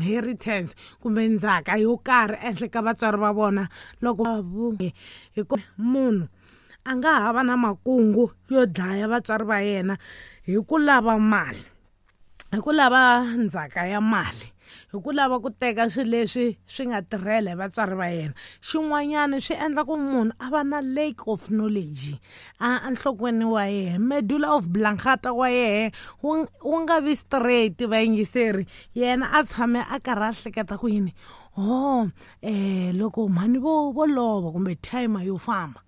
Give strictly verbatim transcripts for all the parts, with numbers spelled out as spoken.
inheritance kumbe ndzhaka yo karhi ehenhla ka vatswari va vona loko hi ku munhu a nga ha va na makungu yo dlaya vatswari va yena hi ku lava mali, hi ku lava ndzhaka ya mali, hi ku lava ku teka swilo leswi swi nga tirhela hi vatswari va yena. Xin'wanyana swi endla ku munhu a va na lack of knowledge a enhlokweni wa yena, medulla of blankata wa yena wu wu nga vi straight vayingiseri. Yena a tshame a karhi a hleketa ku yini, ho eh loko mhani vo vo lova kumbe timer yo famba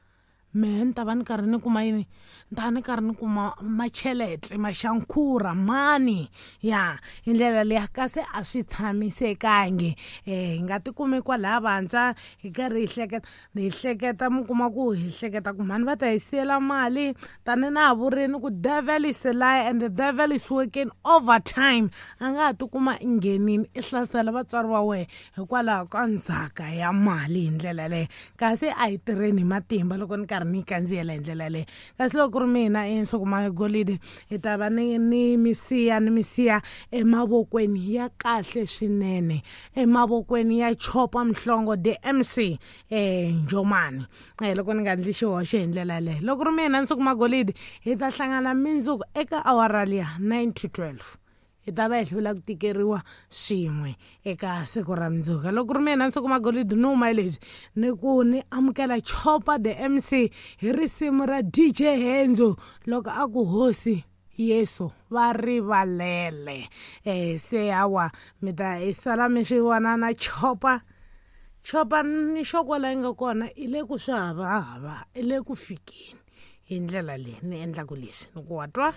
mehe ni ta va ni karhi ni kuma yini, ni ta va ni karhi ni kuma machelete maxankhura mani ya hi ndlela liya, kasi a swi tshamisekangi. um hi nga tikumi kwalaya vantshwa hi karhi hi hleketa hi hleketa mi kuma ku hi hleketa ku mhani va ta hi siyela mali, tani na ha vurini ku devil is a lie and the devil is working overtime. A nga ha tikuma i nghenini i hlasela vatswari va wehe hikwalaho ka ndzhaka ya mali hi ndlela leyo, kasi a hi tirheni hi matimba loko ni karhi ni kandziyela hi ndlela leyo. Kasi loko ku ri mina Nsuku Magolide hi ta va ni ni misiya ni misiya emavokweni ya kahle swinene, emavokweni ya Chopa Mhlongo the M C eh Njomani, eh loko ni nga ndli xihoxo hi ndlela leyo. Loko ku ri mina Nsuku Magolide hi ta hlangana mindzuku eka awara liya nine to twelve, hi ta va hi hlula ku tikeriwa swin'we eka siku ra mundzuku. Loko ku ri mina Nsuku Magolide ni huma leswi ni ku ni amukela Chopa the M C hi risimu ra D J Henzo loko a ku hosi Yesu va rivalele. Eh se hawa mi ta hi sala mi swi vona na Chopa. Chopa ni xokola yi nga kona i le ku swi havahava, i le ku fikeni hi ndlela leyi ni endlaku leswi ni ku wa twa.